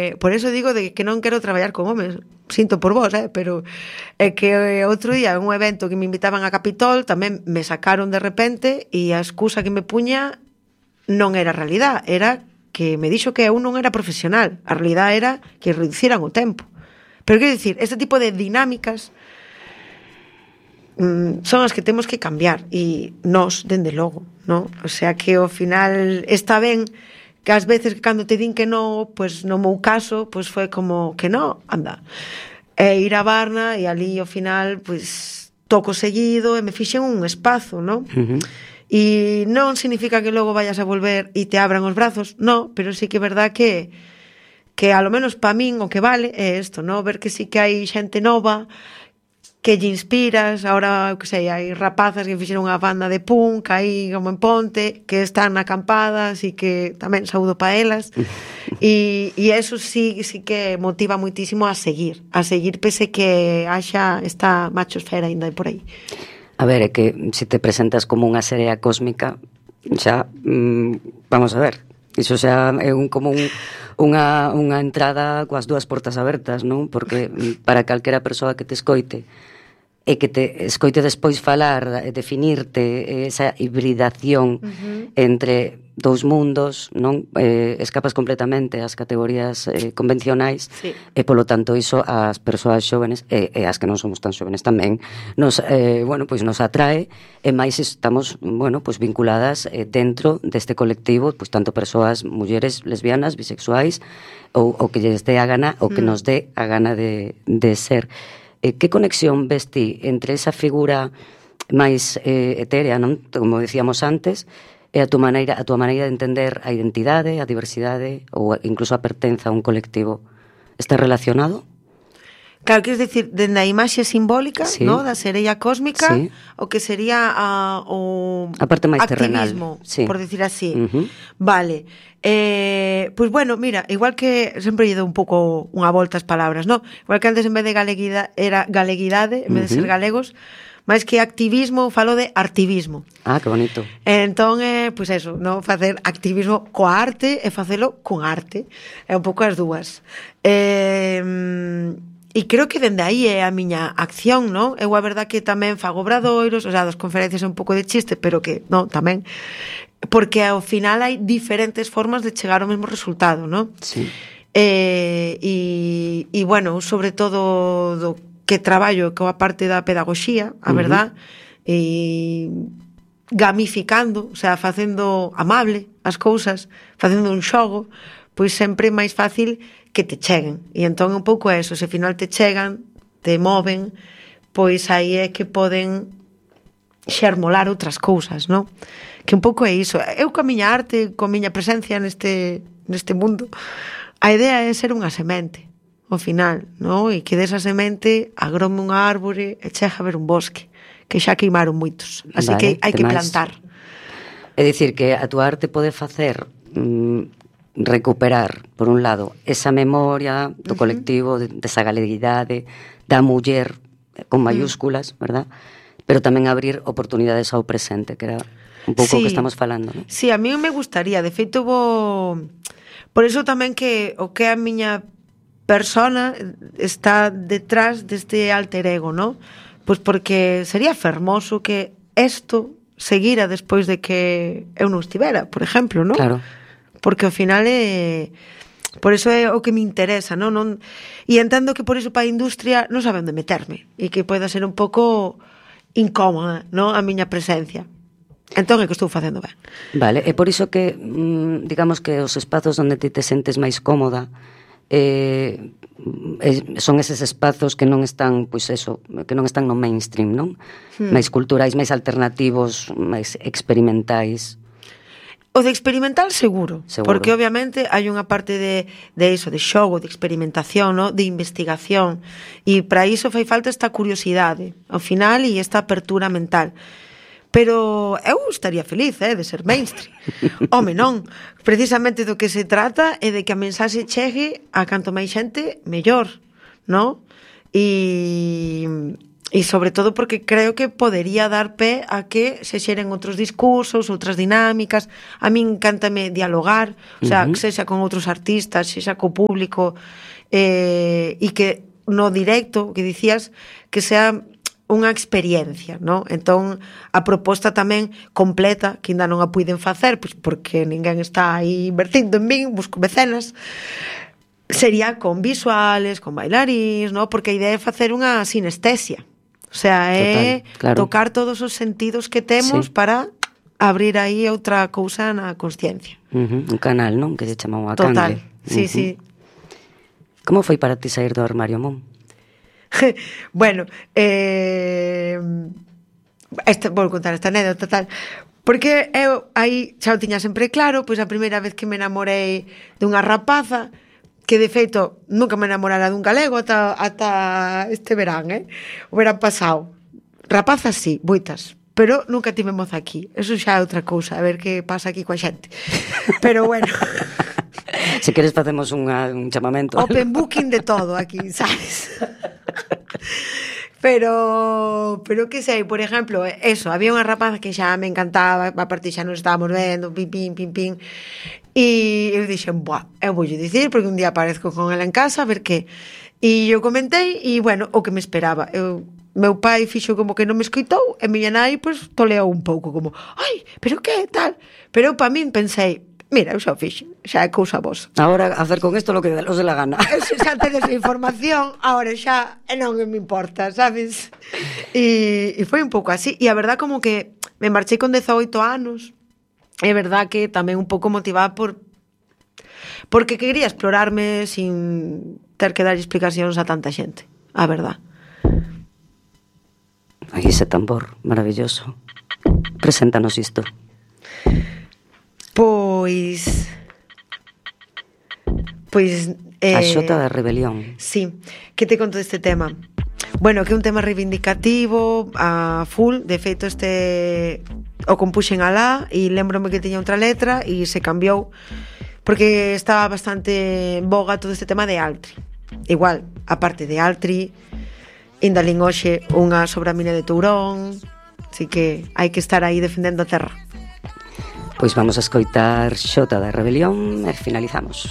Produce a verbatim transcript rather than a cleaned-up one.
eh, por eso digo de que non quero traballar con homes. Sinto por vos, eh, pero é que outro día un evento que me invitaban a Capitol tamén me sacaron de repente e a excusa que me puña non era realidad, era que me dixo que eu non era profesional. A realidad era que reduciran o tempo. Pero quero dicir, este tipo de dinámicas mm, son as que temos que cambiar e nós, dende logo, ¿no? O sea que ao final está ben que ás veces que cando te din que no, pues no meu caso, pues foi como que no, anda. E ir a Barna e ali ao final, pues toco seguido e me fixen un espazo, ¿no? Uh-huh. E non significa que logo vayas a volver e te abran os brazos, no, pero sí que é verdad que que a lo menos pa min o que vale é isto, ¿no? Ver que sí que hai xente nova que lle inspiras, ahora, que sei, hai rapazas que fixeron unha banda de punk aí como en Ponte, que están na acampada, así que tamén saúdo pa elas, e, e eso sí, sí que motiva muitísimo a seguir, a seguir pese que haxa esta machosfera ainda por aí. A ver, é que se te presentas como unha serea cósmica, xa, mmm, vamos a ver, iso xa é un, como un, unha, unha entrada coas dúas portas abertas, non? Porque para calquera persoa que te escoite e que te escoite despois falar, definirte esa hibridación uh-huh. entre dous mundos, non? Eh, escapas completamente ás categorías eh, convencionais sí. E polo tanto iso ás persoas xóvenes e, e as que non somos tan xóvenes tamén nos, eh, bueno, pois nos atrae e máis estamos, bueno, pois vinculadas eh, dentro deste colectivo, pois tanto persoas, mulleres lesbianas, bisexuais ou, ou que lles dé a gana ou que mm. nos dé a gana de, de ser. Eh, que conexión ves ti entre esa figura máis eh, etérea, non? Como decíamos antes, e a túa maneira, a túa maneira de entender a identidade, a diversidade ou incluso a pertenza a un colectivo? Está relacionado? Claro, queres decir, dende a imaxe simbólica, sí. ¿no? Da sereia cósmica, sí. O que sería a, o a parte máis activismo, terrenal, sí. Por decir así. Uh-huh. Vale. Eh, pues bueno, mira, igual que sempre lle dou un pouco unha volta as palabras, ¿no? Igual que antes en vez de galeguida, era galeguidade, en vez uh-huh. de ser galegos, máis que activismo, falo de artivismo. Ah, que bonito. Entón, eh, pois pues eso, no facer activismo coa arte e facelo con arte. É un pouco as dúas. Eh, e creo que dende aí é a miña acción, non? Eu a verdad que tamén fago obradoiros, o sea, das conferencias é un pouco de chiste, pero que, non, tamén, porque ao final hai diferentes formas de chegar ao mesmo resultado, non? Sí. Eh, e, e, bueno, sobre todo do que traballo coa parte da pedagogía, a verdad, uh-huh. e gamificando, o sea, facendo amable as cousas, facendo un xogo, pois sempre é máis fácil que te cheguen. E entón un pouco é eso, se ao final te chegan, te moven, pois aí é que poden xermolar outras cousas, non? Que un pouco é iso. Eu coa miña arte, coa miña presencia neste, neste mundo, a idea é ser unha semente, ao final, non? E que desa semente agrome unha árbore e chega a ver un bosque, que xa queimaron moitos. Así vale, que hai que plantar. É dicir, que a tua arte pode facer mmm, recuperar, por un lado, esa memoria do uh-huh. colectivo, desa galeguidade, da muller, con mayúsculas, uh-huh. verdad? Pero tamén abrir oportunidades ao presente, que era un pouco sí. o que estamos falando, non? Sí, a mí me gustaría, de feito vou... Por iso tamén que o que a miña persona está detrás deste alter ego, non? Pois porque sería fermoso que isto seguira despois de que eu non estivera, por exemplo, non? Claro. Porque ao final é... Por iso é o que me interesa, non? non... E entendo que por iso para a industria non sabe onde meterme e que poida ser un pouco incómoda, non? A miña presencia. Entón é que estou facendo ben. Vale, e por iso que mmm, digamos que os espazos onde ti te sentes máis cómoda eh, son eses espazos que non están, pois eso, que non están no mainstream, non? Hmm. Máis culturais, máis alternativos, máis experimentais. O de experimental seguro, seguro, porque obviamente hai unha parte de, de iso, de xogo, de experimentación, ¿no? De investigación, e para iso fai falta esta curiosidade ao final e esta apertura mental. Pero eu estaría feliz, eh, de ser mainstream. Home, non. Precisamente do que se trata é de que a mensaxe chegue a canto máis xente mellor, non? E, e sobre todo porque creo que podería dar pé a que se xeren outros discursos, outras dinámicas. A min encántame dialogar, o sea, uh-huh. que sexa con outros artistas, sexa co público, eh, e que no directo, que dicías, que sea unha experiencia, ¿no? Entón, a proposta tamén completa, que ainda non a puiden facer, pois porque ninguén está aí invertindo en min, busco mecenas, sería con visuales, con bailarins, ¿no? Porque a idea é facer unha sinestesia. O sea, é Total, claro. tocar todos os sentidos que temos sí. para abrir aí outra cousa na consciencia. Uh-huh. Un canal, non? Que se chamou a Total, canle. sí, uh-huh. sí. Como foi para ti sair do armario, Mon? Bueno, eh, este, vou contar esta anécdota tal, porque eu aí xa o tiña sempre claro, pois a primeira vez que me namorei dunha rapaza, que de feito nunca me enamorara dun galego ata, ata este verán, eh? O verán pasado. Rapazas sí, moitas, pero nunca tive moza aquí. Eso xa é outra cousa, a ver que pasa aquí coa xente. Pero bueno... Se queres facemos unha, un chamamento. Open booking de todo aquí, sabes? Pero, pero que sei, por exemplo, eso, había unha rapaza que xa me encantaba, a partir xa nos estábamos vendo, pim, pim, pim, pim, e eu dixen, buah, eu voulle dicir, porque un día aparezco con ela en casa, a ver que, e eu comentei, e bueno, o que me esperaba, eu, meu pai fixo como que non me escoitou, e miña nai, pois, toleou un pouco, como, ai, pero que, tal, pero eu pa min pensei, mira, eu xa o fixo, xa é cousa vos. Agora, hacer con isto lo que os de la gana. Xa tedes a información, agora xa non me importa, sabes? E, e foi un pouco así. E a verdad como que me marchei con dezaoito anos. É verdad que tamén un pouco motivada por porque quería explorarme sin ter que dar explicacións a tanta xente. A verdad. Aí ese tambor maravilloso. Preséntanos isto. Pois... Pois... Eh, a xota da rebelión. Sí, que te conto deste tema? Bueno, que é un tema reivindicativo a full, de feito este o compuxen alá e lembrome que tiña outra letra e se cambiou porque estaba bastante en boga todo este tema de Altri. Igual, a parte de Altri, ainda lin hoxe unha sobre a mina de Tourón, así que hai que estar aí defendendo a terra. Pois vamos a escoitar Xota da Rebelión e finalizamos.